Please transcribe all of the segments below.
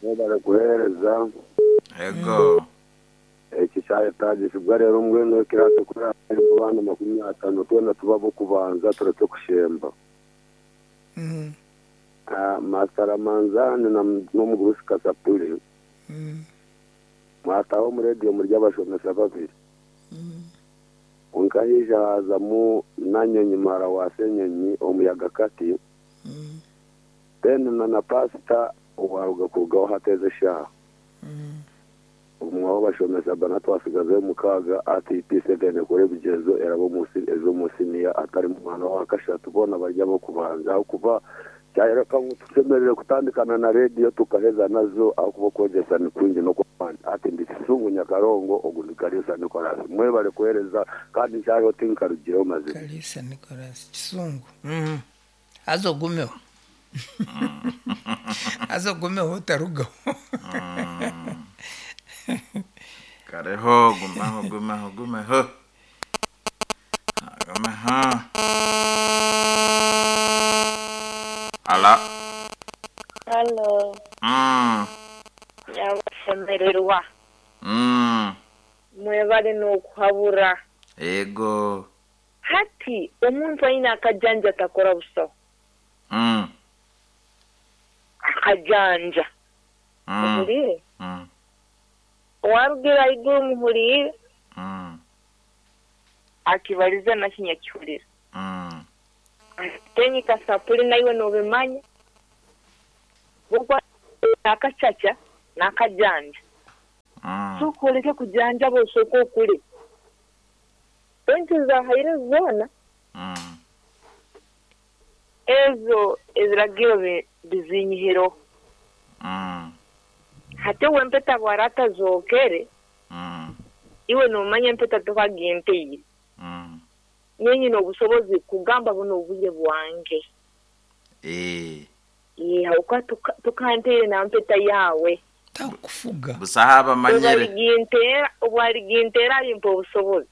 Mwebare kuheereza. Ego. Eki kyayetaagisibwa reero mbwenu ekiraasi ku eraabe erimu abaana 50 twena tube ab'okubanza turekye kushemba. Master Ramanzani n'omugurusi Kasapuli mwataaha omu rediyo muri abashomesa babiri. Kwonka haija haazamu Nanyonyi muhara wa Ssenyonyi omuyaga kati, then na na paasita owaaruga kurugaho hati ezi eshaaha. Obumwe aho bashomesa bana twasigazayo mukaaga ati P7 ekore ebigyezo erabe omu eze omu siniya atarimu mwana owa kashatu boona bari ab'okubanza ahakuba kyayoreka ngu tushemereire kutandikana na rediyo tukaheza nazo ahakuba okwegyesa ni kwingi n'okw'amaani. Ati ndi Kisungu Nyakarongo ogu ndi Kaliisa Nicholas. Mwebale kuheereza kandi nkyariho tinkarugireho mazima. Kaliisa Nicholas Kisungu. Haza ogumeho. Haza ogumeho otarugaho. Kareho, gumaho, gumaho, gumeho. Gumeho. Ala. Halo. Nyabashemererwa. Mwebare n'okuhabura. Yego. Hati omuntu aine akajanja atakora busaho. Akajanja. Ohuriire? Owarugire ahaiguru muhuriire? Akibarize nakyo nyakihurira. Ate kasapuri naiwe nobimanya. N'akacaca n'akajanja. Sooka oreke kujanjaba osooke okure. Sente zahaire zoona. Ezo ebiragiro bizinyihireho. Hati obu empeta bwara atazookere, iwe noomanya empeta tokaginteire. Nyowe nyine obusobozi kugamba bunu obwire bwange. Ahabw'okuba tokanteire na mpeta yaawe. Takufuga. Busaho abamanyire. Obu ariginteera arimpa obusobozi.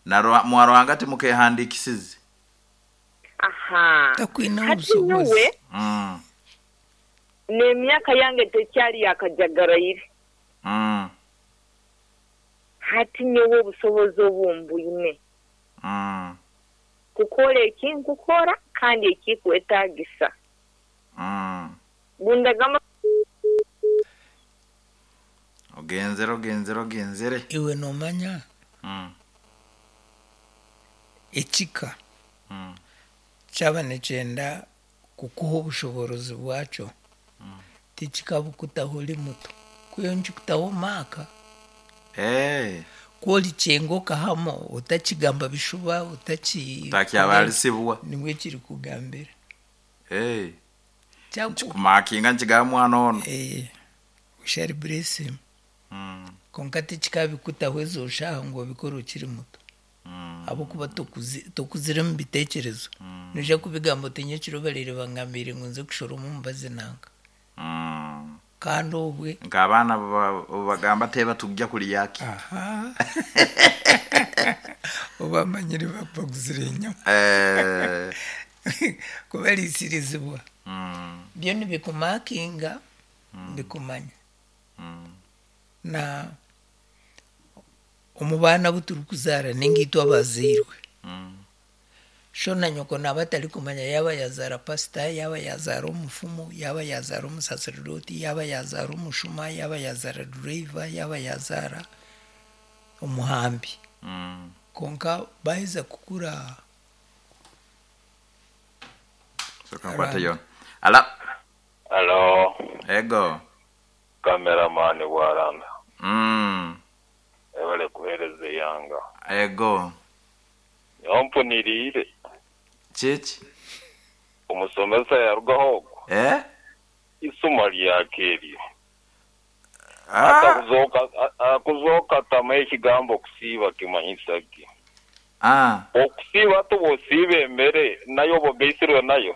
Na Mwaruhanga timukeehandiikisize. Aha. Takwine Hati obusobozi. nyowe n'emyaka yange tekyari ya kajagaraire. Hati nyowe obusobozi obu mbwine. Kukora eki nkukora kandi ekikwetaagisa. Bundagamba. Ogenzere, ogenzere, ogenzere. Iwe noomanya ekika kyaba nikyenda kukuha obushoboorozi bwakyo, tikikabukutaho ori muto. Kwihaho nikikutaho maaka. Ku orikyenga okahama otakigamba bishuba, otaki. Otakyabarisibwa. Nibwo kirikugambira. Nikikumakinga nikigamba mwana onu. We shall bless him. Kwonka tikikabikutaho ezo shaaha ngu obikore okiri muto. Ahabw'okuba tokuzire omu biteekyerezo. Noija kubigamba oti nyekiro baraire bangambiire ngu nze kushoroma omubazi nanka. Kandi obwe. Nk'abaana obu bagamba teeba tugya kurya ki? Aha. Obamanyire baguzire enyama. Kubariisirizibwa. Byo nibikumakinga bikumanya. Na omu baana abu turikuzaara nainga itwe abazairwe, sho na nyoko naaba atarikumanya yaaba yaazaara pasita, yaaba yaazaara omufumu, yaaba yaazaara omusaseredooti, yaaba yaazaara omushuma, yaaba yaazaara dureeva, yaaba yaazaara omuhambi. Kwonka baaheza kukura. Soka nkwate yoona. Ala. Halo. Ego. Cameraman Bwaranda. Webale kuhereza eihanga. Ego. Nyowe mpuniriire. Kiki? Omusomesa yarugaho ogwo. Eh? Isoma ryaka eryo. Akuzooka atamanya ekigambo okusiiba kimanyisa ki. Okusiiba hati obu osiiba emere nayo oba ogaitsirwe nayo?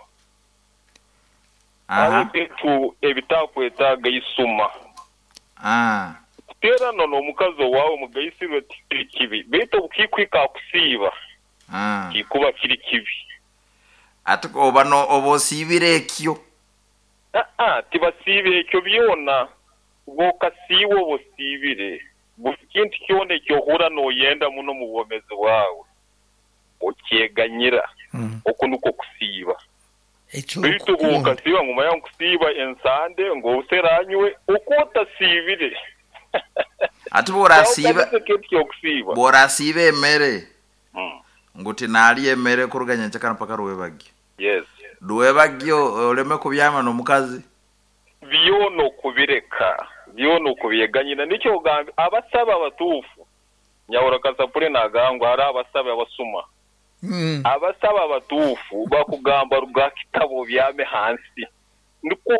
Hariho ebintu ebitakwetaaga isuma. Kuteerana n'omukazi owaawe mugaitsirwe tikiri kibi, beitu obu kikuhika aha kusiiba, kikuba kiri kibi. Ati oba oba osiibire ekyo? Aa, tibasiiba ekyo byona. Bw'okasiiba oba osiibire, buri kintu kyona eki ohurra nooyenda muno omu bwomeezi bwawe, okyeganyira. Oku nikwo kusiiba. Beitu bw'okasiiba ngu manya nkusiiba ensande, ngu obusera nywe, oku otasiibire. Hati bw'orasiiba Ekintu ky'okusiiba. bw'orasiiba emere ngu tinarya emere kuruga nyenkyakara mpaka rwebagyo. Yes. Rwebagyo oreme kubyama n'omukazi? Byona okubireka, byona okubyeganyira. Nikyo ogambye, abasabe abatuufu, Nyahura Kasapure nagamba ngu hariho abasabe abasuma. Abasabe abatuufu bakugamba ruga aha kitabo obyame hansi. Nikwo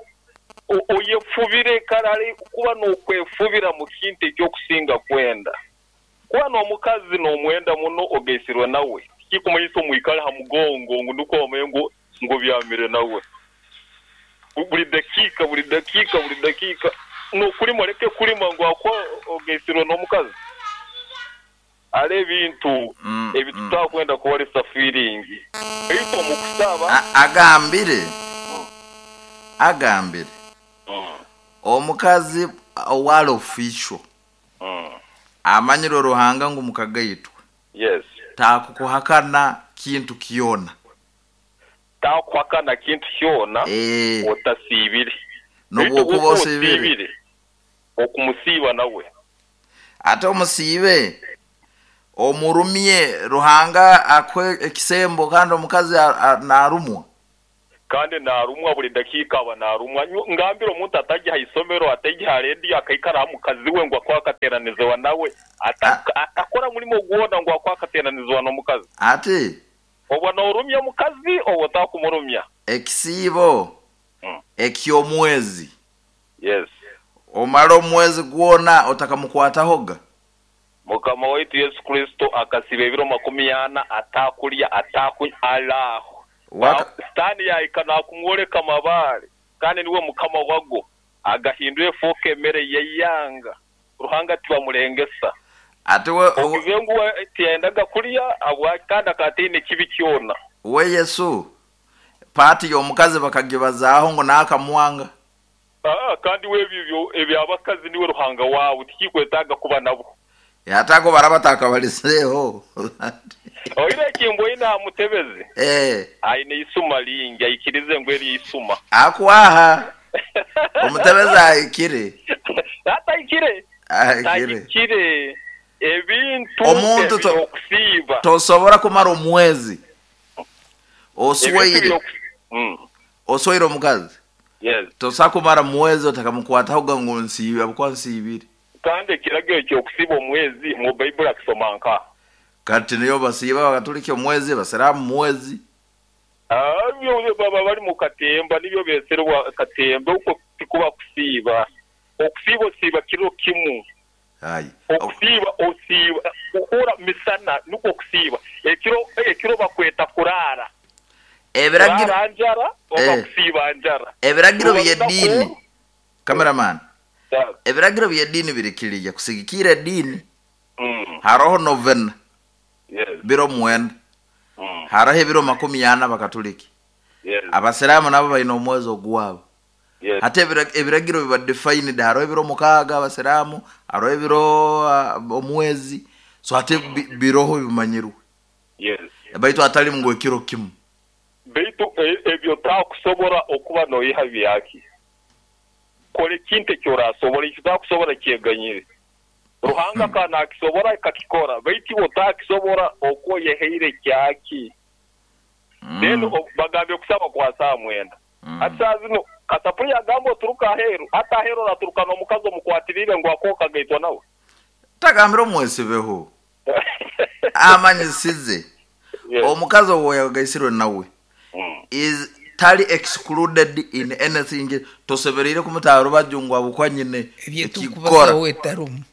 oyefubire kare hare kuba nokwefubira mu kintu eki okusinga kwenda. Kuba n'omukazi nomwenda muno ogaisirwe nawe, tikikumanyisa omwikale ha mugongo ngu nikwo omanye ngu ngu obyamire nawe. Buri dakiika, buri dakiika, buri dakiika n'okurima oreke kurima ngu ahakuba ogaisirwe n'omukazi. Hariho ebintu ebi tutakwenda kuhoresa fiiringi baitu omu kusaba. Agambire, agambire omukazi owari official amanyirwe Ruhanga ngu mukagaitwe Yes. Takukuhakana kintu kyona. Takuhakana kintu kyona otasiibire. Baitu N'obwokuba bwokuba osiibire. osiibire, okumusiiba nawe. Ate omusiibe, omurumye, Ruhanga akuhe ekisembo kandi omukazi narumwa. Kandi naarumwa buri dakiika aba naarumwa. Ngambire omuntu atajya aha isomero, ataija aha rediyo akaikara aha mukazi we ngu akuhe akateeranizibwa nawe, atakora murimo gwona ngu akuhe akateeranizibwa n'omukazi. Ati. Obwo noorumya omukazi oba otakumurumya? Ekisiibo eky'omwezi. Yes. Omare omwezi gwona otakamukwatahoga. Mukama waitu Yesu Kristo akasiiba ebiro makumi ana ataakurya, ataakunywa, ari aho. Sitaane yaahika naakumworeka amabaare, kandi niwe mukama wago, agahindura efooka emere y'eihanga. Ruhanga tibamurengesa. Ati we. Ogize ngu we tiyayendaga kurya, habwaki? Kandi akaba ataine kibi kyona. We Yesu, paati y'omukazi bakagibazaaho ngu naakamwanga. Aa, kandi we ebyo eby'abakazi niwe Ruhanga waabo, tikikwetaaga kuba nabo. Yataako baraba atakabalizeeho. Oine eki mbwoine aha mutebezi? Ee. Aine eisuma lingi, aikirize ngu eryo eisuma. Akwaha. Omutebezi ahikire. Atahikire. Ahikire. Tahikire. Ebintu Omuntu to, eby'okusiiba. tosobora kumara omwezi Ebintu osweire, by'oku. Mm. osweire omukazi. Yes. Tosobola kumara mwezi otakamukwatahoga ngu nsiibe habwokuba nsiibire. Kandi ekiragiro eky'okusiiba omwezi mu Baibuli akisoma nkaha? Kati niyo basiiba Abakatuliki omwezi, Abasiraamu mwezi. Ebyo baba bari mu katemba nibyo beeserwa katemba, okwo tikuba kusiiba. Okusiiba osiiba kiro kimu. Aye. Okusiiba osiiba kuhura misana nikwo kusiiba. Ekiro ekiro bakweta kuraara. Ebiragiro Kuraara njara oba eh, kusiiba njara. ebiragiro Ruba runaku by'ediini oru. cameraman, Yes. ebiragiro by'ediini biri kiriya kusigikirra ediini Mm. haroho novena Yes. biro mwenda, Mm. haroho ebiro makumi ana Abakatuliki, Yes. Abasiraamu nabo baine omwezi ogwabo. Yes. Hati ebiragiro biba defined, haroho ebiro mukaaga Abasiraamu, haroho ebiro omwezi, so hati biroho bimanyirwe. Yes. Baitu hatali ngu ekiro kimu. Baitu ebyo otakusobora okuba noyiha byaki? Kora ekintu eki orasobora, eki otakusobora kyeganyire. Ruhanga akaba nakisobora akakikora, baitu iwe otakisobora oku oyehaire kyaki? Then bagambye kusaba kwa saaha mwenda. Hati saaha zinu Kasapuli yagamba oturuke aheeru, hati aheeru oraturuka n'omukazi omukwatirire ngu akuhe okagaitwa nawe? Tagambire omwesibeho. Amanyisize Yes. omukazi ou yagaisirwe nawe is tali excluded in anything tosemereire kumuta aha rubaju ngu ahabw'okuba nyine Ebyo ekikukora. tukubazaho etarumu.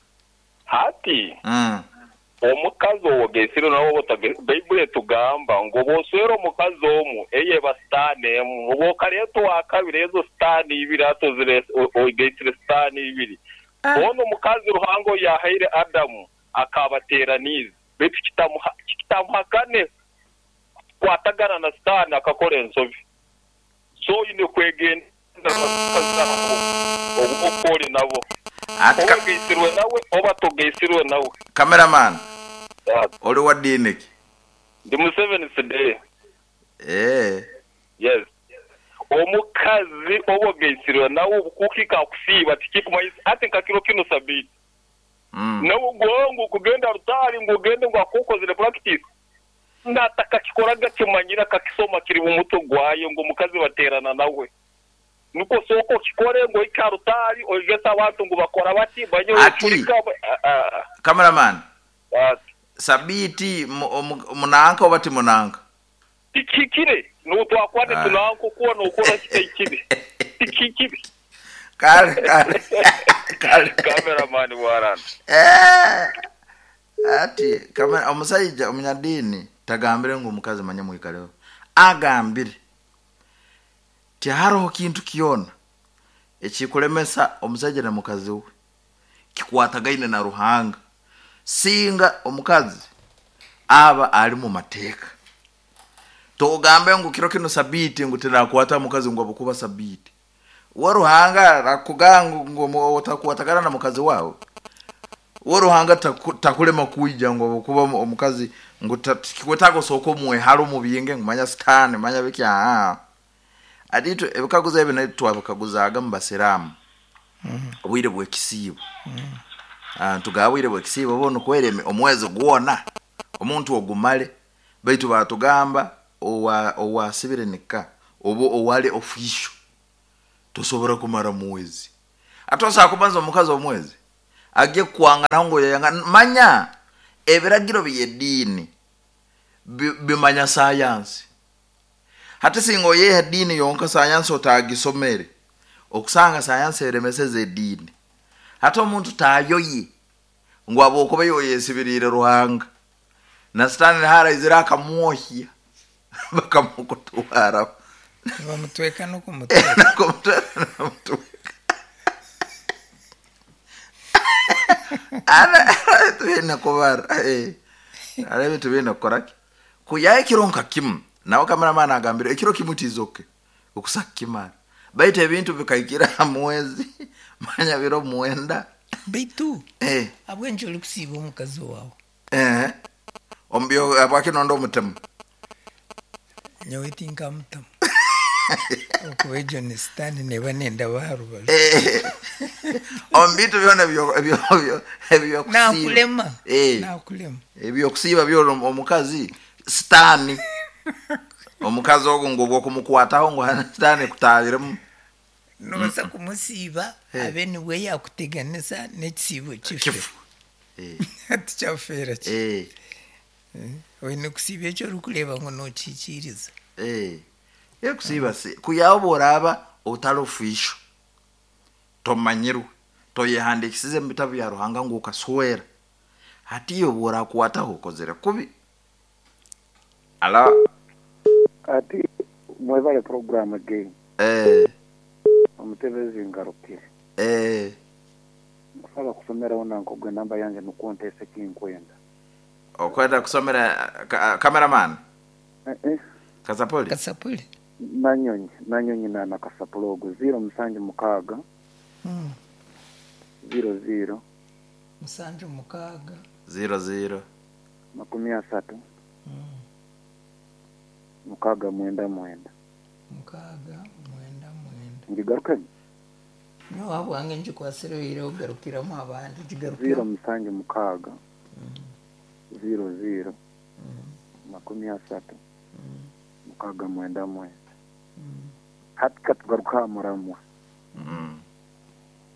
Hati, omukazi ou ogaisirwe nawe oba otagaisirwe, Baibuli etugamba ngu obu oswera omukazi omu, eyo eba sitaane emu. Obu okaleeta owakabiri, ezo sitaane ibiri hati ozireese, ogaisire sitaane ibiri. Hoona omukazi Ruhanga ou yaahaire Adamu akaabateeraniize, beitu kitamuhakane kukwatagana na Sitaane akakora ensobi. So oine kwegendereza. Obu oku ori nabo. Oba ogaitsirwe nawe oba togaitsirwe nawe. Cameraman, ori wa diini ki? Ndi Seventh Day. Eeh. Yes. Omukazi oba ogaitsirwe nawe obukuhika akusiiba tikikumanyisa hati nka kiro kinu sabiiti. Nawe ngu kugenda rutaari ngu ogende ngu ahakuba okozire practice. Natakakikoraga akimanyire akakisoma kiri mu mutwe gwayo ngu omukazi baterana nawe. Nukwo sooka okikore ngu ohike ha rutaari oyegese abantu ngu bakora bati, manya Ati, oyecurika aa. Cameraman, Ati. Sabiiti munanka oba ti munanka? Tikihikire. N'obu twakuba nitunanka oku waaba nookora kitahikire. Tikihikire. Kale, kale, kale. Cameraman bwarana. Eh, ati kamera omusaija omunyadiini tagambire ngu omukazi manya mwikaleho. Agambire tihariho kintu kyona ekikulemesa omusaija na mukazi we kikwatagaine na Ruhanga singa omukazi aba ali mu mateeka. Togambe ngu kiro kinu sabiiti ngu tinakwata mukazi ngu habwokuba sabiiti. We Ruhanga arakugamba ngu otakwatagana na mukazi wawe? We Ruhanga takulema kwija ngu habwokuba omukazi ngu tikikwetaaga osooke omwehale omubinge ngu manya sitaani manya biki aa. Hati itwe ebikaguzo ebi naitwe twabikaguzaaga mu basiraamu obwire bw'ekisiibo. Nitugaba obwire bw'ekisiibo bo nikwera omwezi gwona omuntu ogumale baitu baatugamba owaasibire nika oba owali official tosobora kumara mwezi. Hati osobola kumaza omukazi omwezi agye kukwanganaho ngu oyeyanga manya ebiragiro by'ediini bimanya sayansi. Hati singa oyeha ediini yonka sayansi otagisomere, okusanga sayansi eremeseze ediini. Hati omuntu tayoye ngu habwokuba iwe oyesibiriire Ruhanga, na sitaani niho araizire akamwohya bakamukutwaraho. Nibamutweka n'okumutweka. N'okumutweka nibamutweka. Hariho ebintu biine kubara, hariho ebintu biine kukora ki? Kwihaho ekiro nka kimu, nawe cameraman agambire ekiro kimwe tizoke okusa kukimara. Baitu ebintu bikahikira aha mwezi manya biro mwenda. Baitu ahabw'enki orikusiiba omukazi waawe? Eeh, omu byo habwaki nonda omutemu? Nyowe tinkamutamu ahabw'okuba egyo ni sitaane neeba nendaba aha rubaju. Omu bintu byona eby'okusiiba. Naakurema, naakurema. Eby'okusiiba byona omukazi sitaani. Omukazi ogwo ngu obw'okumukwataho ngu sitaani ekutaahiremu. Noobaasa kumusiiba abe niwe yaakuteganisa n'ekisiibo kife. Hati kyafeera ki? Oine kusiiba eki orikureeba ngu nookihikiiriza. Kusiiba kwihaho obu oraaba otari official, tomanyirwe, toyehandiikisize omu bitabo bya Ruhanga ngu okaswera, hati iwe obu orakwataho okozire kubi. Alo. Ati mwebale program again. Omutebezi ngarukire. Nkusaba kusomeraho nanka ogwo enamba yangye nukwo nteese ekinkwenda. Okwenda kusomera cameraman? Kasapuli? Kasapuli. Nanyonyi, Nanyonyi na na Kasapuli ogwo ziiro musanju mukaaga, ziiro ziiro. Musanju mukaaga. Ziiro ziiro. Makumi asatu, mukaaga mwenda mwenda. Mukaaga mwenda mwenda. Ngigarukemu? Nyowe ahabwange ngikwatsire oihireho garukiramu abandi, Ziiro gigarukemu. musanju mukaaga, ziiro ziiro, makumi asatu, mukaaga mwenda mwenda. Hati ka tugaruke aha muramwa.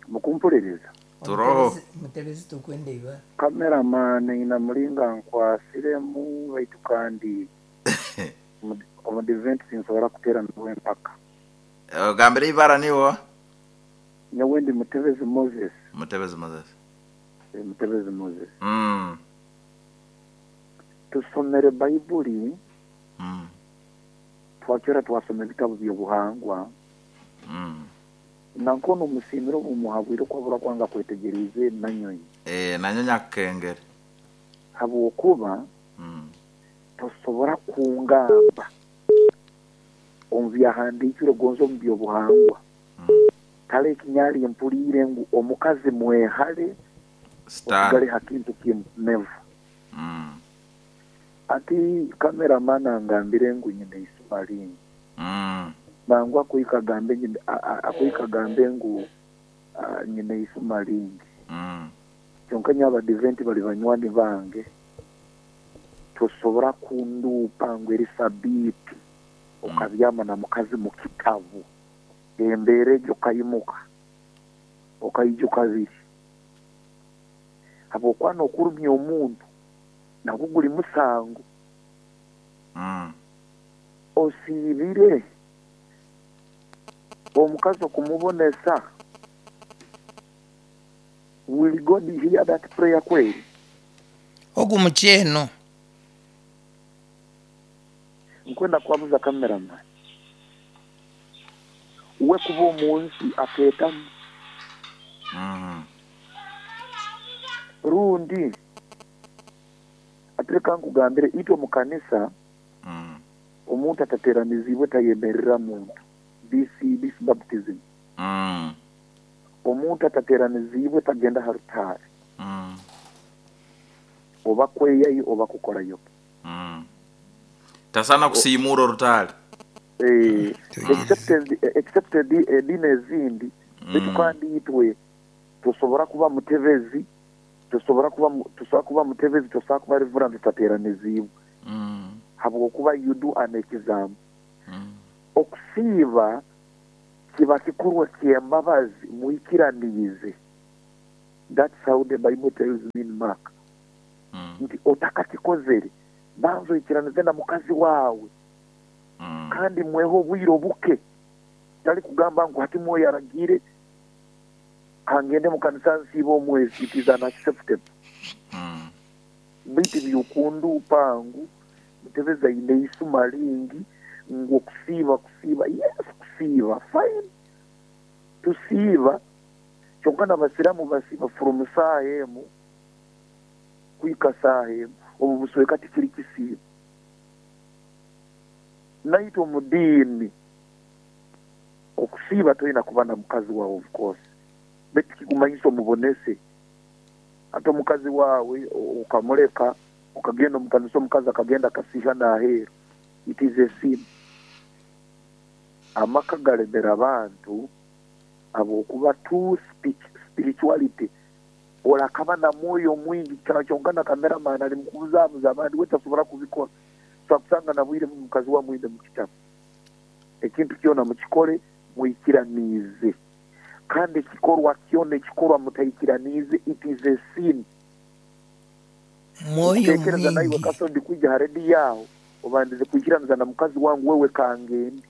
Mukumpuririza? Turoho. Mutebezi tukwenda ibara. Cameraman aine muringo ankwasiremu baitu kandi omudiventi tinsobora kuteera nawe empaka. Ogambire ibara niiwe oha? Nyowe ndi Mutebezi Moses. Mutebezi Moses. Mutebezi Moses. Tusomere Baibuli, twakira twasoma ebitabo by'obuhangwa. Nanka onu omusiimire obu muhabwire oku abura kwanga kwetegyereize Nanyonyi. Nanyonyi akukengere. Habw'okuba tosobora kungamba omu byahandiikirwe gonza omu by'obuhangwa. Tale ekinyali mpuriire ngu omukazi mwehale osigale ha kintu kimu never. Ati cameraman angambire ngu nyine eisima lingi. Mangu akuhika agambe akuhika agambe ngu nyine eisima lingi. Kyonka nyowe Abadiventi bali banywani bange, tosobora kunduupa ngu eri sabiiti okabyama na mukazi mu kitabu. Embeera egyo okaimuka okaija okabiri. Habw'okuba n'okurumya omuntu nagwo guri musango. Osiibire omukazi okumubonesa? Will God hear that prayer kweri? Ogu mukyeno. Nkwenda kubabuza cameraman we kuba omunsi akeetamu rundi ati reka nkugambire itwe omu kanisa omuntu atateranizibwe tayemerera muntu this this baptism omuntu atateranizibwe tagenda aha rutaari oba kweyayo oba kukorayo ki. Tasaana kusiimuura orutaari. Except except ediini ezindi beitu kandi itwe tosobora kuba mutebezi tosobora kuba tosobora kuba mutebezi tosobora kuba reverand otateeraniziibwe habwokuba you do an exam. Okusiiba kiba kikorwa ky'embabazi mwikiraniize that's how the bible tells me in Mark nti otakakikozere banza oikiranize na mukazi waawe kandi mwehe obwire obuke tari kugamba ngu hati mwoyo aragiire kangende mu kanisa nsiibe omwezi it is unacceptable beitu by'okunduupa ngu Mutebezi aine eisuma ringi ngu okusiiba kusiiba yes kusiiba fine tusiiba kyonka nabasiramu basiiba from saaha emu kuhika saaha emu obu busweka tikiri kisiibo. Naitwe omu diini okusiiba toine kuba na mukazi waawe of course beitu tikikumanyisa omubonese. Hati omukazi waawe okamureka okagenda omu kanisa omukazi akagenda akasiihana aheeru it is a sin. Amaka garemera abantu habwokuba too spirituality Orakaba na mwoyo mwingi kyonka na cameraman ari mukubuzabuza abandi we tasobora kubikora. Osobola kusanga na bwire bumwe mukazi we amwine mukitabo. Ekintu kyona mukikore mwikiraniize kandi ekikorwa kyona ekikorwa mutaikiraniize it is a sin. Mwoyo Nkutekereza naiwe mwingi. Kaso ndikwija ha radio aho obandize kwikiraniza na mukazi wangu wewe kangende.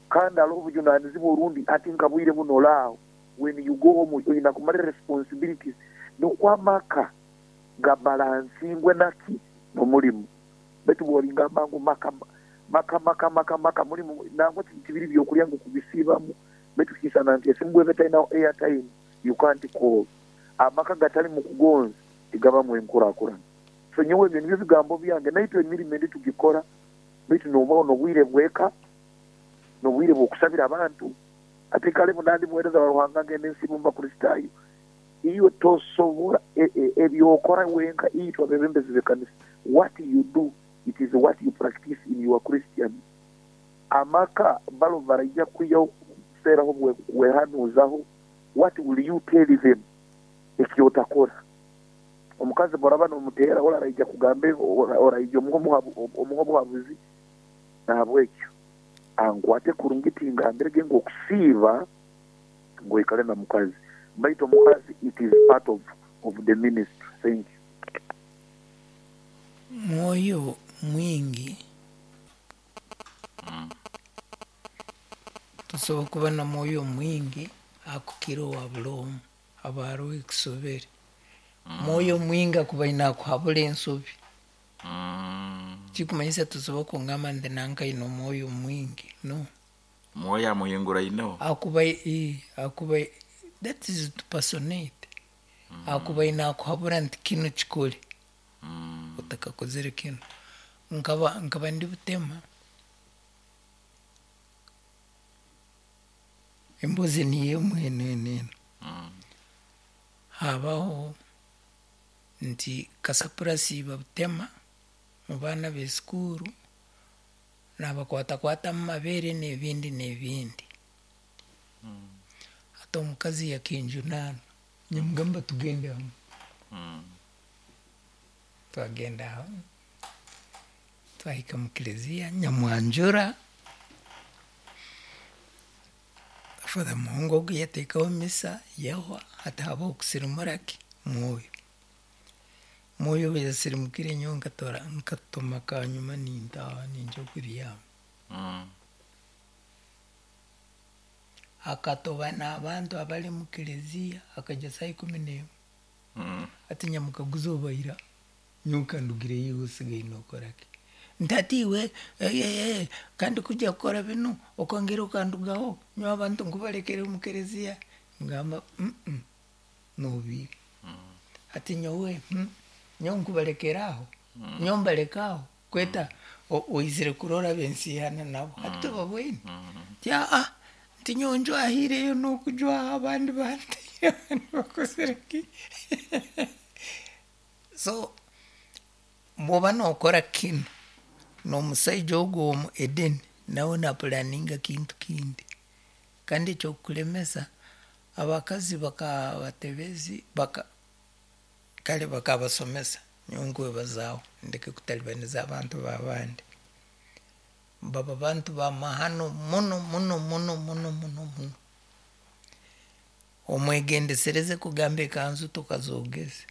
Kandi haroho obujunanizibwa orundi hati nka bwire bunu ori aho When you go home oine kumara responsibilities nukwo amaka ga balansingwe naki nomurimo baitu bworingamba ngu maka maka maka maka maka murimo nangwa tibiri byokurya ngu kubisiibamu baitu kisana nti esimu bweba etainaho airtime you can't call amaka gatarimu kugonza tigabamu enkurakurana so nyowe ebyo nibyo bigambo byange naitwe emirimo endi tugikora baitu nobaho nobwire bweka nobwire bwokusabira abantu. Ati kale buna ndi muheereza wa Ruhanga ngenda ensi omu Bakristaayo. Iwe tosobora eby'okora wenka itwe abebembezi b'ekanisa what you do it is what you practice in your Christian amaka balo baraija kwihaho kuseeraho wehanuuzaho what will you tell them ekyotakora. Omukazi bworaba nomuteera oraija kugamba oraija omuhe obuhabuzi nahabwekyo. Ankwate kurungi tingambire ge ngu okusiiba ngu oikare na mukazi baitu omukazi it is part of of the ministry thank you. Mwoyo mwingi Tosobola kuba na mwoyo mwingi akukira owa buli omu haba haroho ekisobere. Mwoyo mwingi akuba aine akuhabura ensobi. Tikumanyisa tosobola kungamba nti nanka aine omwoyo mwingi, no. Mwoyo amuhinguraineho. Akuba akuba that is to personate, akuba aine akuhabura nti kinu kikore otakakozire kinu. Nkaba nkaba ndi Butema. Embuzi niyo emwe eno eno eno. Habaho nti kasapura asiiba butema mu baana b'esikuuru nabakwatakwata omu mabeere n'ebindi n'ebindi. Hati omukazi yakinjunaana nyamugamba tugende hamwe. Twagenda hamwe twahika mu kiliziya nyamwanjura. Father Muhungu ogu yateekaho misa yahwa hati habaho kusirimura ki mwoyo. Mwoyo obu yasirimukire nyowe nkatora nkatoma kanyuma nintaaha ningya kubyama. Akatoba n'abantu abari mu kiliziya akaija saaha 11. Hati nyamukaguza obaira nyowe kandugireyo iwe osigaire nookora ki? Nti hati iwe kandi kujya kukora binu okongera okandugaho nyowe abantu nkubalekere omu kiliziya? Ngamba nobiiba. Hati nyowe nyowe nkubalekera aho, nyowe mbaleka aho kweta oizire kurora abensiihana nabo hati tobabwine. Nti aa nti nyowe njwahiireyo n'okujwaha abandi bantaire abandi bakozire ki? So bw'oba nookora kinu n'omusaija ogu omu Edeni nawe napulaninga kintu kindi. Kandi ekyokukulemesa abakazi bakabatebezi baka kale bakabasomesa nyowe nkwebazaaho ndeke kutalibaniza abantu b'abandi. Baba bantu b'amahano muno muno muno muno muno muno. Omwegendesereze kugamba ekanzu tokazoogeze.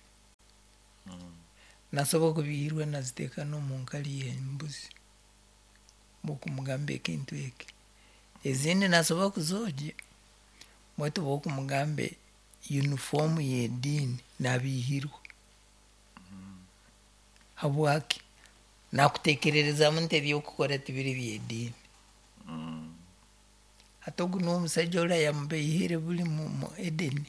Nasobola kubihiirwa naziteeka n'omu nkari y'embuzi bw'okumugamba ekintu eki. Ezindi nasobola kuzoogya baitu bw'okumugamba yunifoomu y'ediini nabiihirwa. Habwaki? Nakuteekererezaamu nti eby'okukora tibiri by'ediini. Hati ogu nuwe omusaija ori ayamubeihire buli mu Edeni.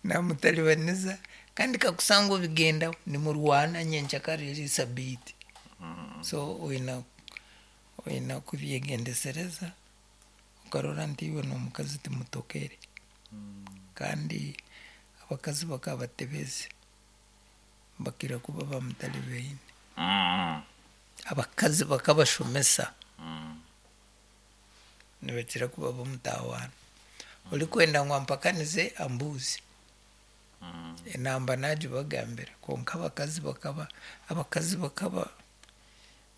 Namutalibaniza kandi kakusanga obigendaho nimurwana nyenkyakara eri sabiiti. So oina oina kubyegendesereza okarora nti iwe n'omukazi timutokere. Kandi abakazi bakabatebezi bakira kuba bamutalibaine. Abakazi bakabashomesa nibakira kuba b'omutawaana. Orikwenda ngu ampakanize ambuuze. Enamba nagibagambira kwonka abakazi bakaba abakazi bakaba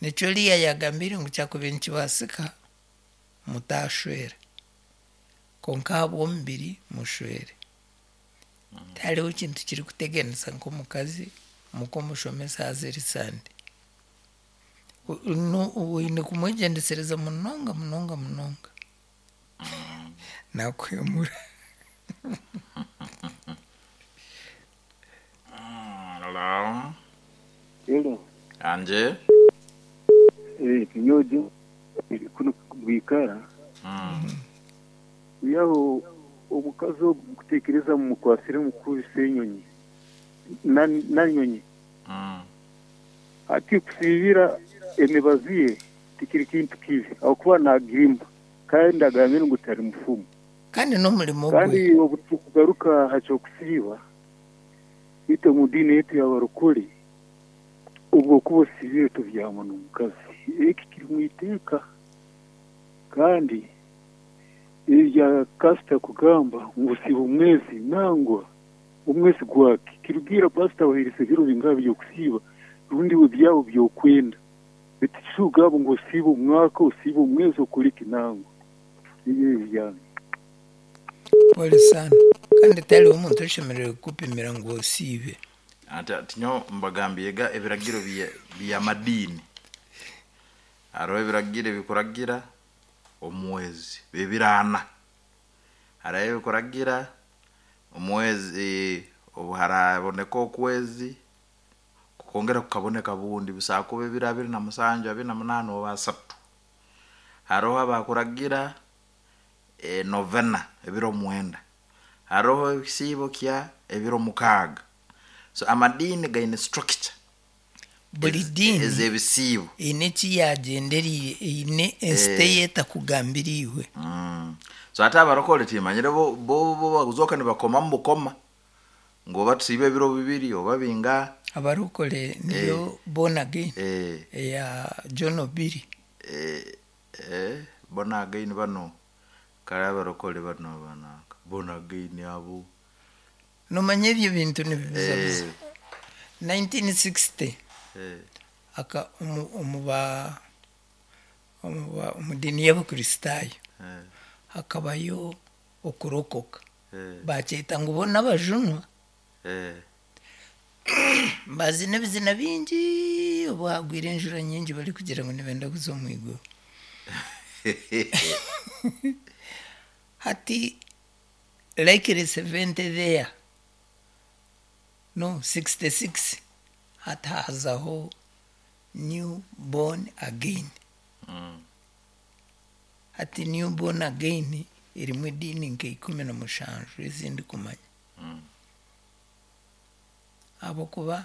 nikyo Leah yagambire ngu kyakubaire nikibaasika mutashwera kwonka ahabw'omubiri mushwere. Tihariho kintu kirikuteganisa nk'omukazi muka omushomesa haza eri Sande. Oine kumwegyendesereza munonga munonga munonga. Nakuhemura. Hello. Hello. Anje. Kinyoji kuno bwikara. Yaho omukazi ogu mukutekereza mumukwasire mukubisa enyonyi nanyonyi. Ati kusibira emibazi ye tikiri kintu kibi ahakuba nagirimba kandi agambire ngu tari mufumu. Kandi n'omurimo gwe. Kandi obu tukugaruka aha ky'okusiiba itwe omu diini yaitu y'abarokore obwo okuba osiibire tobyama n'omukazi. Eki kiri mu iteeka kandi ebya kasita kugamba ngu osiiba omwezi nangwa omwezi gwaki kirugiirra pasita abaheerize ebiro bingaha by'okusiiba rundi iwe byawe by'okwenda. Baitu tikikugamba ngu osiibe omwaka osiibe omwezi okore ki nangwa. Nibyo ebi byange. Pole sana. Kandi tihariho omuntu oshemereire kukupimira ngu osiibe. Ati ati nyowe mbagambiire ebiragiro by'amadiini. Hariho ebiragiro ebikuragira omwezi ebiro ana. Hariho ebikuragira omwezi obu haraboneka okwezi kukongera kukaboneka bundi busaaba kuba ebiro 27, 28 oba 30. Haroho abakuragira novena ebiro 9. Haroho ekisiibo kya ebiro 6. So amadiini gaine structure. Buri diini ez'ebisiibo eine eki yagyendereire, eine ensita ei etakugambiriirwe. So hati abarokore timanyire bo bo bo bakuzooka nibakomamu bukoma ngu oba tusiibe ebiro bibiri oba bingaha. Abarokore niyo born again eya John Obiri. Born again banu kare abarokore banu bananka born again abo. Nomanya ebyo bintu nibibuzabuza. 1960 aka omu omu ba omu ba omu diini y'Abakristaayo hakabayo okurokoka. Baakyeta ngu bo n'abajunwa. Baazina ebizina bingi obu haagwire enjura nyingi barikugira ngu nibenda kuza omu iguru. Hati likely 70 there, no 66 hati haazaho new born again. Hati new born again erimu ediini nka 17 ezi ndikumanya. Ahabw'okuba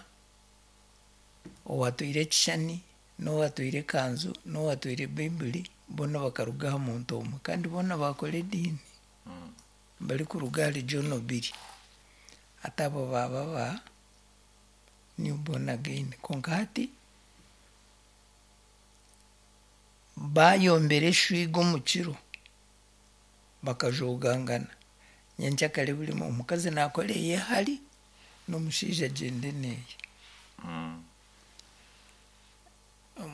owatwaire ekishushani n'owatwaire ekanzu n'owatwaire Baibuli boona bakaruga aha muntu omwe kandi boona baakora ediini barikuruga ahari John Obiri. Hati abo baaba ba new born again. Kwonka hati baayombera eshwiga omu kiro bakajoogangana. Nyenkyakare buri omukazi naakora eye hari n'omushaija agyende n'eye.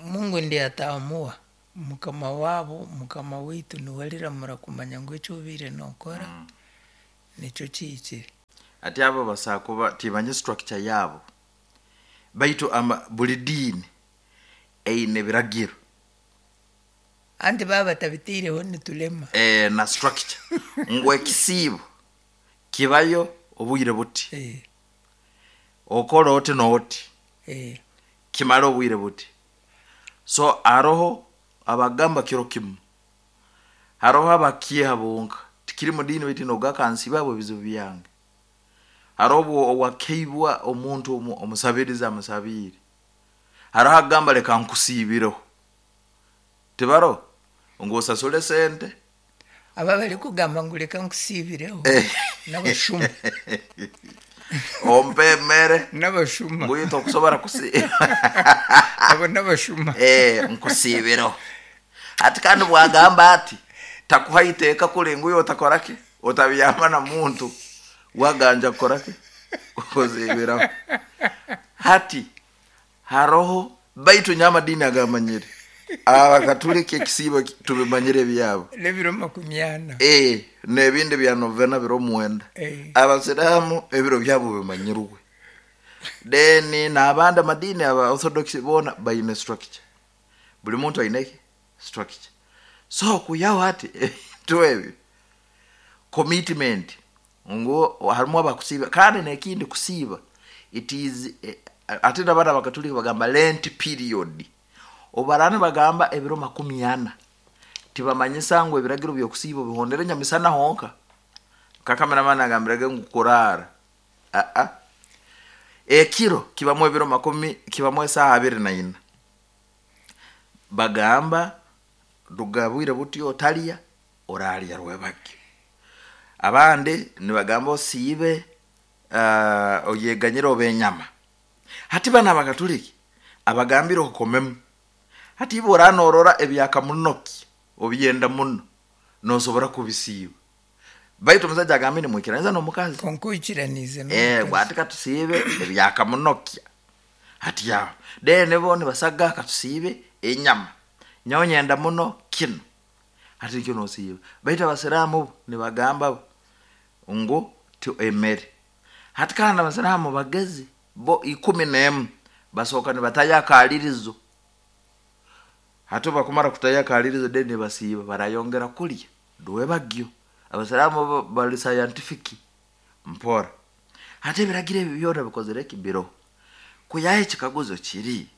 Mungu ndiye ataamua, Mukama waabo, Mukama waitu niwe ariramura kumanya ngu eki obaire nookora nikyo kihikire. Hati abo basaa kuba timanya structure yaabo baitu ama buri diini eine ebiragiro. Anti baaba batabitaireho niturema. Na structure ngu ekisiibo kibayo obwire buti, okore oti n'oti kimare obwire buti. So haroho abagamba kiro kimu, haroho abakiiha bonka tikiri mu diini baitu nogu akansiiba ahabw'ebizibu byange. Haroho obu owakeibwa omuntu omusabirizi amusabiire, haroho akugamba leka nkusiibireho. Tibaroho? Ngu osasure esente. Abo abarikugamba ngu reka nkusiibireho n'abashuma. Ompe emere. N'abashuma. Ngu itwe okusobora kusiiba. Abo n'abashuma. Nkusiibireho. Hati kandi bwagamba ati, takuha iteeka kuri ngu iwe otakora ki? Otabyama na muntu waganja kukora ki? Kukusiibiraho. Hati Haroho, baitu nyowe amadiini agamanyire, Abakatuliki ekisiibo tubimanyire ebyabo. N'ebiro 40. Ee, n'ebindi bya novena biro mwenda. Abasiraamu ebiro byabo bimanyirwe. Then n'abandi amadiini aba Orthodox boona baine structure. Buri muntu aine ki? Structure. So kwihaho hati ebintu ebyo, commitment Ngu harimu abakusiiba kandi n'ekindi kusiiba it is ate nabanu abakatuliki bagamba lent period obu baraba nibagamba ebiro 40 tibamanyisa ngu ebiragiro by'okusiiba obihondere nyamisana honka nka cameraman agambirege ngu kuraara aa ekiro kibamu ebiro makumi kibamu esaaha 24 bagamba ruga bwire buti otarya Oraarya rwebagyo. Abandi nibagamba osiibe oyeganyire obe enyama. Hati banu Abakatuliki abagambire okomemu. Hati iwe oraba norora ebyakamunoki obyenda muno, nosobora kubisiiba. Baitu omusaija agambire nimwikiraniza n'omukazi. Kwonka oikiraniize n'omukazi. Ngu hati katusiibe ebyakamunokya. Hati aho. Then bo nibasaga katusiibe enyama. Nyowe nyenda muno kinu. Hati nikyo nosiiba. Baitu Abasiraamu bo nibagamba bo ngu ti emere. Hati kandi Abasiraamu bagezi bo 11 basooka nibatayo akaaririzo. Hati obu bakumara kutayo akaaririzo then nibasiiba barayongera kurya rwebagyo. Abasiraamu bo bari scientific mpora. Hati ebiragiro ebi byona bikozire ki? Biroho. Kwihaho ekikaguzo kiri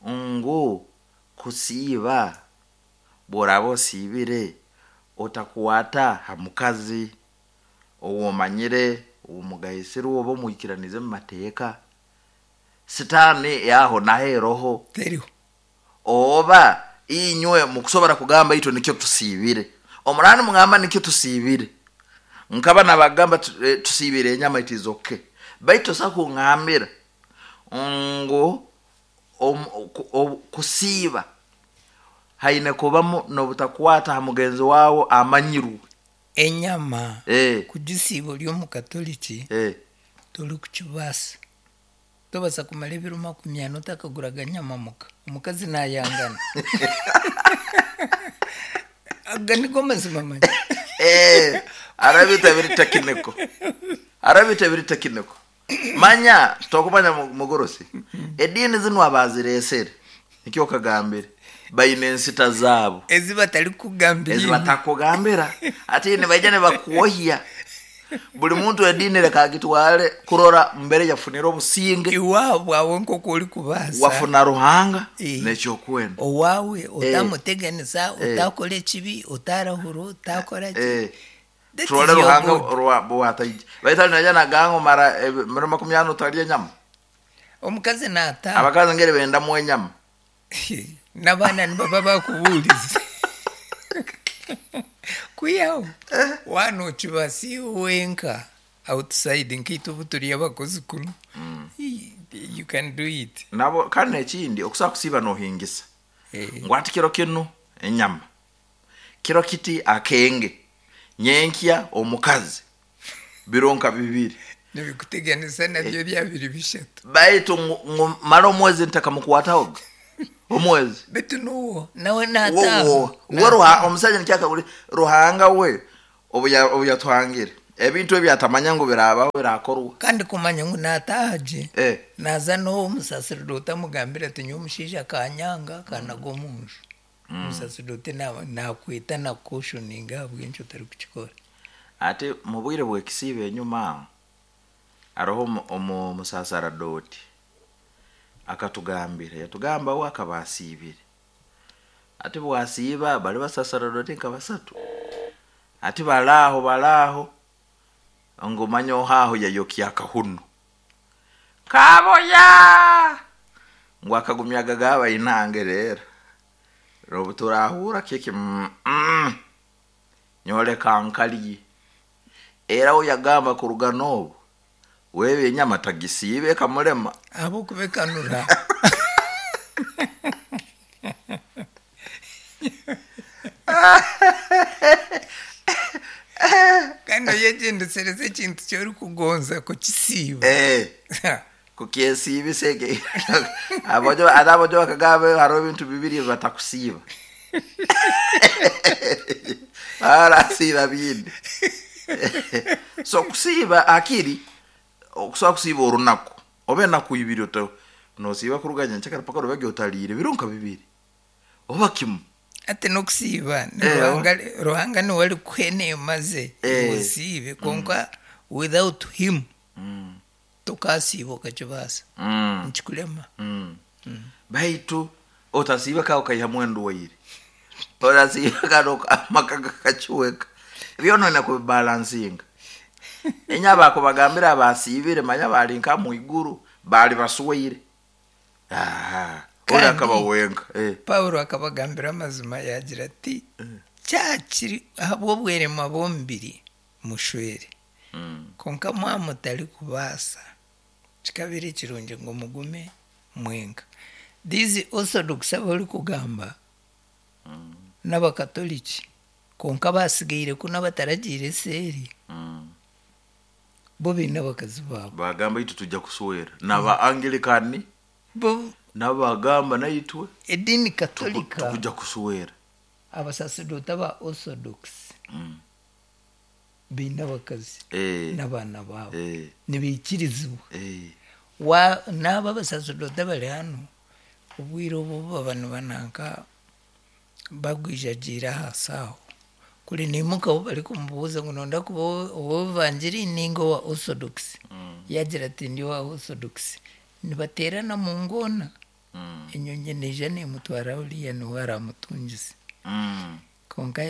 ngu kusiiba Bw'oraaba osiibire, otakwata ha mukazi ou omanyire, ou mugaisirwe oba omwikiraniize omu mateeka. Sitaani yaho naho eroho. Teriho. Oba inywe mukusobora kugamba itwe nikyo tusiibire. Omurani mugamba nikyo tusiibire. Nkaba nabagamba tusiibire enyama, it is okay. Baitu tosa kungambira ngu kusiiba haine kubamu n'obutakwata ha mugenzi wawe amanyirwe. Enyama kugisiiba ori omukatoliki torikukibaasa. Tobaasa kumara ebiro 40 otakaguraga nyama muka. Omukazi naayangana. Aga nigo mazima manya. Hariho ebintu ebiri tekiniko. Hariho ebintu ebiri tekiniko. Manya tokumanya mugurusi. Ediini zinu abazireesere nikyo okagambire baine ensita zaabo. Ezi batarikugambira. Ezi batakugambira. Ati nibaija nibakwohya. Buli muntu ediini reka agitware kurora mbere yafunire obusinge. Iwaabo awe nk'oku orikubaasa. Wafuna Ruhanga n'ekyokwenda. Owaawe otamuteganisa, otakora ekibi, otarahura, otakora ki. That is Turore your Ruhanga God. Bwataija. Baitu ali naija nagamba omara ebiro 40 otarya enyama. Omukazi naataha. Abakazi ngeri bendamu enyama. N'abaana nibaba bakubuurize. Kwihaho waaba nookibaasa wenka outside nkaitwe obu turi abakozi kunu. You can do it. Nabo kandi ekindi okusobola kusiiba nohingisa. Ngu ati kiro kinu enyama. Kiro kiti akenge. Nyenkya omukazi. Biro nka 2. Nibikuteganisa nabyo bya biri 3. Baitu ngu mara omwezi ntakamukwataho. Omwezi. Baitu nuwo nawe naataha. Wo, we omusajja nikyakaburi Ruhanga we obu yatuhangire. Ebintu ebi atamanya ngu birabaho birakorwa. Kandi kumanya ngu naataha gye. Naza n'owo omusaserdooti amugambira ati nyowe omushaija akanyanga akanaga omu nju. Omusaserdooti nakweta nakucautioninga ahabw'enki otarikukikora. Ate mu bwire bw'ekisiiba enyuma aho hariho omusaserdooti akatugambira, yatugamba we akaba asiibire. Ati bwasiiba bari basaserdooti nka 3. Ati baraaho baraaho ngu manya ohaho yayokya akahunu. Kaboya! Ngu akagumya gagaba inange rero. Robu turahura kiki Nyoreka nkaliye. Era we yagamba kuruga n'obu wewe enyama tagisiibe kamulema. Abo kubekanura. Kandi oyegyendesereze ekintu ky'orikugonza kukisiiba. Kukyesiibisa eke. Abojo, ate abojo bakagamba hariho ebintu 2 batakusiiba. Barasiiba bindi. So kusiiba akiri okusobola kusiiba orunaku oba enaku 2 nosiiba kuruga nyenkyakara paka rubege otaliire biro nka 2 oba kimu. Ate n'okusiiba ni Ruhanga niwe arikuha eneema ze osiibe, kwonka without him tokasiiba okakibaasa. Nikikurema. Baitu otasiiba ka okaihamu endwaire. Otasiiba kandi amaka gakakiweka. Byona olina kubibalansinga. Enya bakubagambira abasiibire manya bari nka mu iguru bari baswaire. Ori akaba wenka. Paulo akabagambira amazima yagira ati kyakiri ahabw'obweremwa bw'omubiri mushwere. Kwonka mwamutari kubaasa kikabiri ekirungi ngu mugume mwenka. These orthodox abari kugamba n'abakatoliki kwonka basigaire kuno abataragiire eseeri. Bo baine abakazi baabo. Bagamba itwe tujja kuswera. N'aba Anglikani bo nabo bagamba naitwe edini katolika tukujja kuswera. Abasaserdooti aba orthodox baine abakazi n'abaana baabo. Nibaikirizibwa. N'abo abasaserdooti abari hano obwire obu baba nibananka bagwijagiire ahansi aho. Kuri niimuka ahu barikumubuuza ngu nonda kuba ow'evangiri ninga owa orthodox. Yagira ati ndi owa orthodox. Nibateerana mu ngoona. Enyonyi neija neemutwara uriya niwe aramutungisa. Kwonka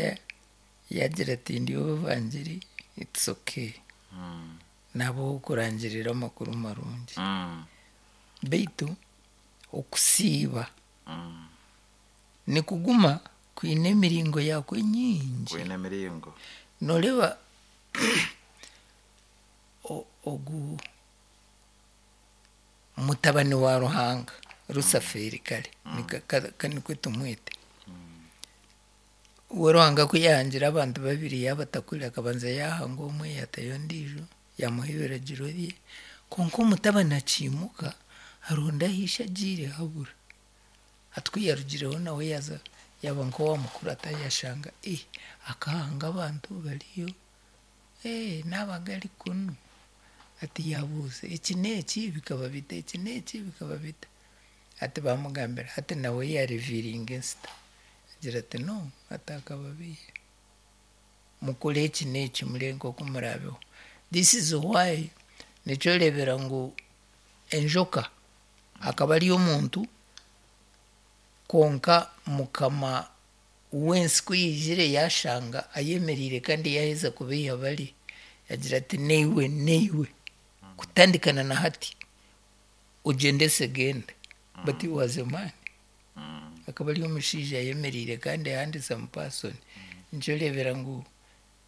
yagira ati ndi ow'evangiri, it's okay. Nabo kurangirira amakuru marungi. Beitu okusiiba nikuguma kwine emiringo yakwo nyingi. Kwine emiringo. Noreeba ogu mutabani wa Ruhanga Rusafeeri kare nikwe tumwete. We Ruhanga ku yaahangire abantu babiri yaabatakura akabanza yaahanga omwe yaatayo ondiijo yaamuha ebiragiro bye. Kwonka omutabani akiimuka aronda ahu ishe agiire habura. Hati ku yaarugireho nawe yaaza yaaba nk'owaamukurata yaashanga akahanga abantu bariyo naaba gari kunu. Hati yaabuuza eki n'eki bikaba bita, eki n'eki bikaba bita. Hati baamugambira hati nawe yaariviiringa ensita. Agira ati no hati akababeiha. Mukore eki n'eki mureebe nk'oku muraabeho. This is why nikyo oreebera ngu enjoka akaba ari omuntu kwonka mukama w'ensi ku yaizire yaashanga ayemereire kandi yaaheza kubeiha bari, yagira ati naiwe naiwe kutandikana na hati ogyendese genda. But he was a man. Akaba ari omushaija ayemereire kandi handsome person. Nikyo oreebera ngu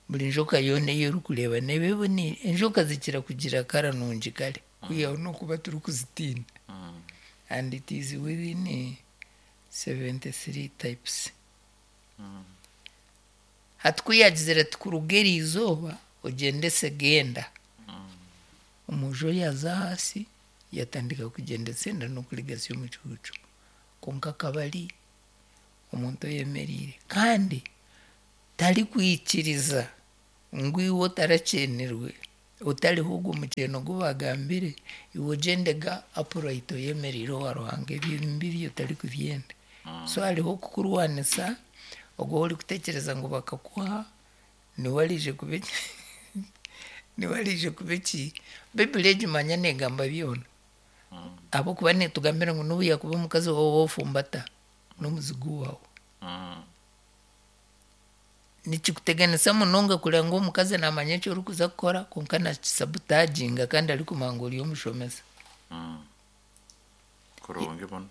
buri njoka yoona ei orikureeba neeba eboneire. Enjoka zikira kugira kara nungi kare kwihaho n'okuba turikuzitiina. And it is within 73 types. Hati ku yaagizire ati kuruga eri izooba ogyendese genda. Omwojo yaaza ahansi yatandika kugyendesa enda n'okurigatsya omucuucu. Kwonka akaba ari omuntu oyemereire kandi tarikwikiriza ngu iwe otarakyenirwe otariho ogwo mukyeno ogu baagambire iwe ogyendega upright oyemereire owa Ruhanga ebyo biri otarikubyenda. So hariho okukurwanisa ogwo ou orikutekyereza ngu bakakuha niwe ariije kuba niwe ariije kuba eki Baiburi egi manya neegamba byona ahabw'okuba neetugambira ngu n'obu yaakuba omukazi waawe woofumbata n'omuzigu waawe. Nikikuteganisa munonga kureba ngu omukazi naamanya eki orikuza kukora kwonka naakisabutaginga kandi arikumanya ngu ori omushomesa. Kurungi muno.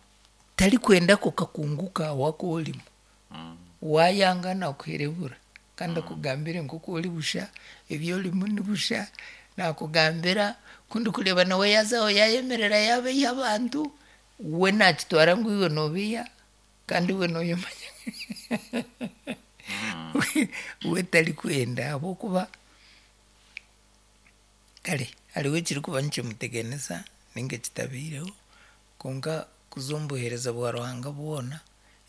Tarikwenda ako kakungu kaawe aku orimu. Waayanga naakuherebura kandi akugambire nk'oku ori busha, ebi orimu ni busha, naakugambira ku ndikureeba nawe yaaza aho yaayemerera yaabeiha abantu, we naakitwara ngu iwe noobeiha kandi iwe nooyemanya we tarikwenda ahabw'okuba kare hariho ekirikuba nikimuteganisa ninga ekitabaireho kwonka kuza omu buheereza bwa Ruhanga bwona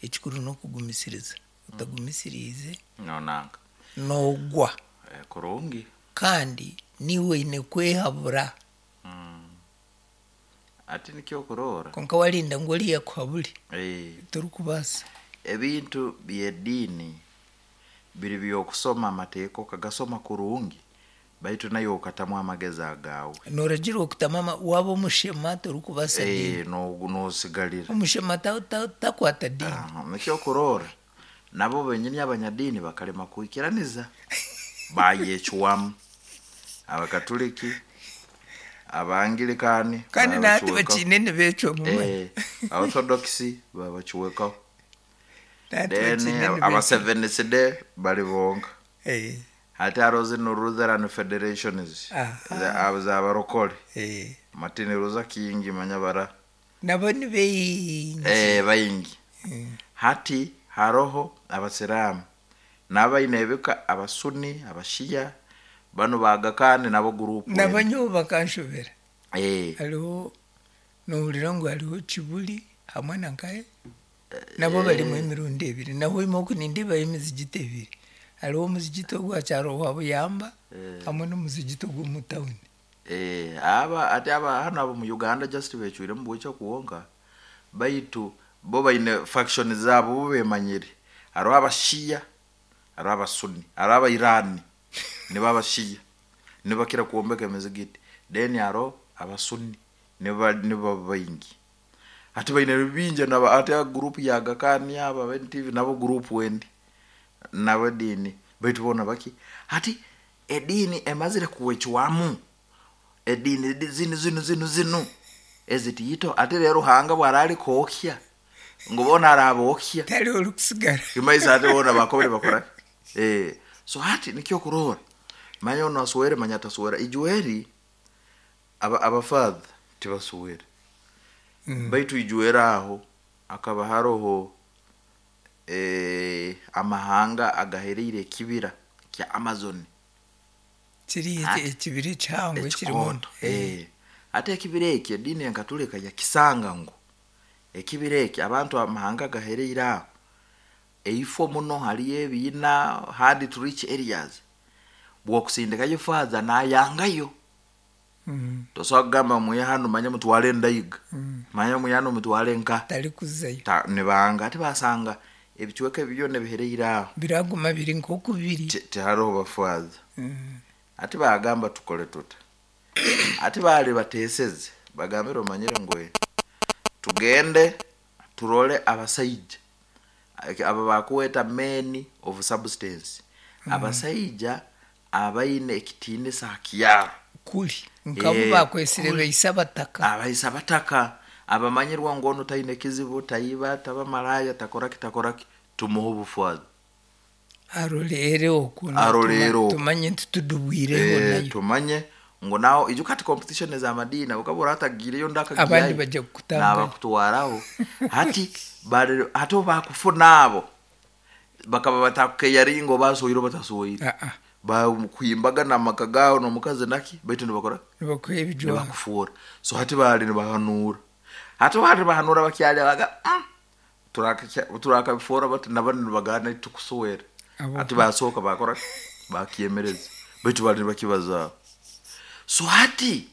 ekikuru n'okugumisiriza. Otagumisiriize Noonanga. noogwa. Kurungi. Kandi niiwe oine kwehabura. Hati nikyo okuroora. Kwonka warinda ngu oriya akuhabure, torikubaasa. Ebintu by'ediini biri by'okusoma amateeka okagasoma kurungi baitu naiwe okatamu amagezi agaawe. Nooragirwa kutamu ama waaba omushema torikubaasa diini. Noosigarira. Omushema takwata diini. Nikyo okuroora nabo benyini abanyadiini bakarema kwikiraniza baayecwamu. Abakaturiki, Abangirikaani Kandi na hati bakiine nibeecwamu manya. Abaorthodox baabacwekaho. Na hati Then bakiine nibeecwamu. Abaseventh day bari bonka. Hati hariho zinu Lutheran Federations z'abarokore. Martin Luther King manya bara. Nabo ni baingi. Baingi. Hati haroho Abasiraamu nabo baine ebika Abasuni, Abashiya, banu ba Aga Khan nabo guruupu Nabo endi. nyowe bakanshobera. Hariho noohurira ngu hariho Kibuli hamwe na nkahe? Nabo barimu emirundi ebiri. Nahwema oku nindeebayo emizigiti ebiri. Hariho omuzigiti ogwa kyaro wa Buyamba hamwe n'omuzigiti ogw'omu tawuni. Aba hati aba hanu ab'omu Uganda just beecwiremu bwekyo kwonka baitu bo baine faction zaabo bo beemanyire. Hariho Abashiya, hariho Abasuni, hariho Abairani nibo Abashiya nibakira kwombeka emizigiti then hariho Abasuni nibo nibo baingi. Hati baine bingi na hati guruupu ya Aga Khan aba aba NTV nabo guruupu endi nabo ediini baitu boona baki hati ediini emazire kwecwamu ediini zinu zinu zinu zinu. Ezitiito ate rero Ruhanga bwara kwokya ngu boona arabookya. Tariho orikusigara. Kimaiso ate boona bakobere bakora eh so hati nikyo kurora manya ono aswere manya ataswera ijweri aba abafather tibaswere. Baitu ijweri aho akaba haroho amahanga agahereire ekibira kya Amazon. Kiri ekibira ekihango ekirimu. Ate ekibira eki ediini enkatulika yakisanga ngu ekibira eki abantu amahanga agahereire aho eifo muno hariyo ebiina hard to reach areas bwokusindikayo father nayangayo. Tosobola kugamba mwihe hanu manya mutware endaiga manya mwihe hanu mutware nka Tarikuzayo. Nibanga ate basanga ebicweka ebi byona ebihereire aho Biraguma biri nk'oku biri. Tihariho bafather. Ate bagamba tukore tuta. Ate bari bateseze bagambire omanyire ngu tugende turole abasaija aba bakuweta men of substance. Abasaija abaine ekitiinisa aha kyaro. Kuri nk'abu bakwetsire baise abataka. Abaise abataka abamanyirwa ngu onu taine kizibu, taiba, taba maraya, takoraki takoraki, tumuhe obufather. Aroreere okwo Aroreere okwo. Tumanye nti tudubwireho nayo. Tumanye ngu naho ijuka hati competition ez'amadiini okaba oratagiireyo ondi Abandi akagiihayo bajya kukutangayo. Naabakutwaraho. Hati bari hati obu baakufuna abo bakaba batakukeyaringa oba aswoire oba taswoire. Bakuhimbaga n'amaka gaawe n'omukazi naki baitu nibakora Nibakuha ebijwaro. Nibakufuura. So hati baali nibahanuura. Hati obu baali nibahanuura bakyali baga turakabifuura bati nabo nibagamba naitwe tukuswera. Hati basooka bakora ki? Bakyemereza. Baitu baali nibakibazaaho. So hati.